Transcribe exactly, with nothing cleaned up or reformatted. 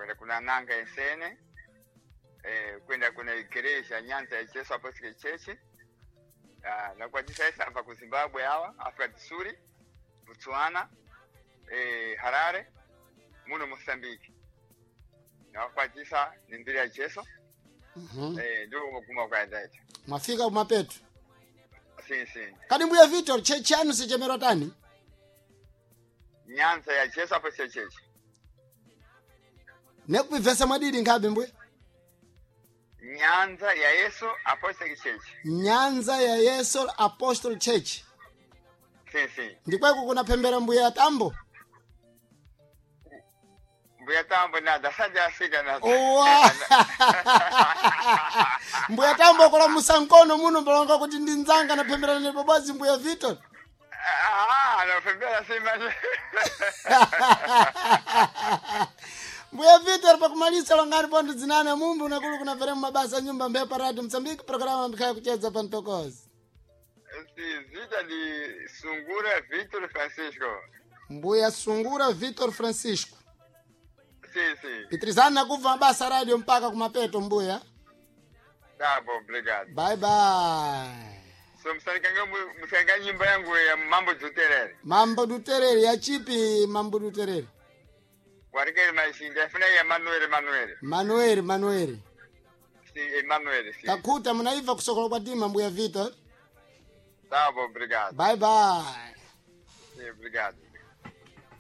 Kwenda kuna nanga ensene. Eh, kwenda kuna igreja Nyanza ya Jesu Apostolic Church. Ah, nakwatisa ese abva ku Zimbabwe awa, Africa do Sul, Botswana, eh, Harare, muno Mozambique. Nawakwatisa ni mbiri ya Jesu. Mhm. Eh, ndiko kuguma kwaendaita. Mwafika kumapeto. Sim, sim. Kadi mbuya Victor, chechi yanu sichemerwa tani? Nyanza ya Jesu Apostolic Church. Nekupivesa mwadidi nkhabe mbuya? Nyanza ya Yesu Apostolic Church. Nyanza ya Yesu Apostle Church. Sim, sim. Ndikweko kunaphembera mbuya Tambo. Mbuya Tambo nada, sadi afika nada. Owa! Mbuya Tambo kola musankono muno mbalonga kuti ndi nzanga naphemberana ne babazi mbuya Victor. Ah, anafembera sima. Mbuya Victor, pakumalisa longani ponto dzinane mumbu unakulu kunapere mabasa nyumba mbepa radio Msambiki programa mbikhaya kucheza pa mtokozi. Zita di Sungura Victor Francisco. Mbuya Sungura Victor Francisco. Sim, sim. Pitrizani nakubva mabasa radio mpaka kumapeto mbuya. Tá bom, obrigado. Bye bye. So msanikanga msanikanga nyimba yangu ya Mambo Duterere. Mambo Duterere ya chipi Mambo Duterere? Warikeli maishinda afuna ya Manuel Manuel. Manuel Manuel. Sim, Emanuel, sim. Takuta munaiva kusokola kwa tima mbuya Victor. Tá bom, obrigado. Bye bye. Sim, obrigado.